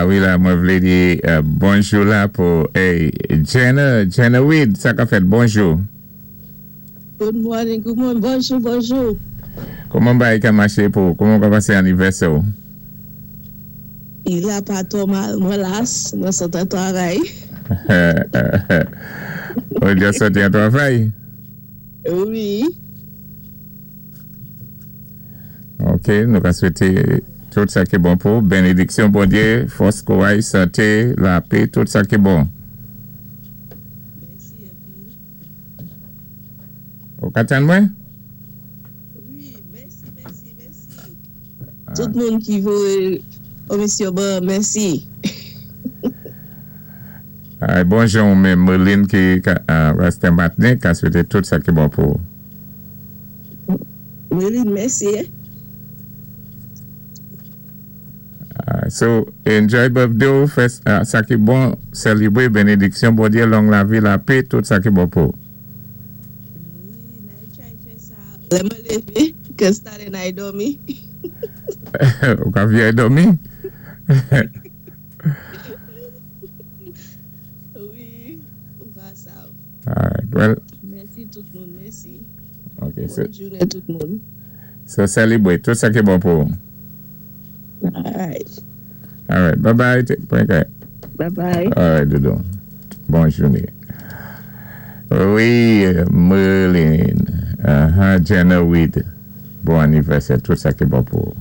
Wi la, mwen vlé di bonjou la pou, hey, Jenna, Jenna Weed, sa ka fèt, bonjou. Good morning, good morning, bonjou, bonjou. Kouman bagay ka maché pou, kouman ka pasé anivèsè ou? I la pa twò mal, mwen las, mwen sot an twavay. Ou dja sòti an twavay? Wi. Ok, nou ka swété tout sa ki bon pou, benediksyon Bondyé, fòs, kouray, santé, lapè, tout sa ki bon. Mèsi anpil. Ou ka tann mwen? Wi, mèsi, mèsi, mèsi. Tout moun ki voyé komisyon ban, mèsi. Ay, bonjou ou menm, Merlin ki restè matnen, ka swété tout sa ki bon pou. Merlin, mèsi. So, enjoy birthday ou, fè sa ki bon, selebre benediksyon Bondyé, long lavi, lapè, tout sa ki bon pou. Wi, n ay try fè sa. Lè mwen lévé, 'cause talè n ay dòmi. Ou ka viyay dòmi? Wi, ou pa sav. Alright, well. Mèsi tout moun, mèsi. Ok, so. Bòn jounen tout moun. So, selebre, tout sa ki bon pou. Alright. Alright, bye bye. Take care. Bye bye. Alright, doudou. Bòn jounen. Wi, Merlin. Jenna Weed. Bon anivèsè, tout sa ki bon pou.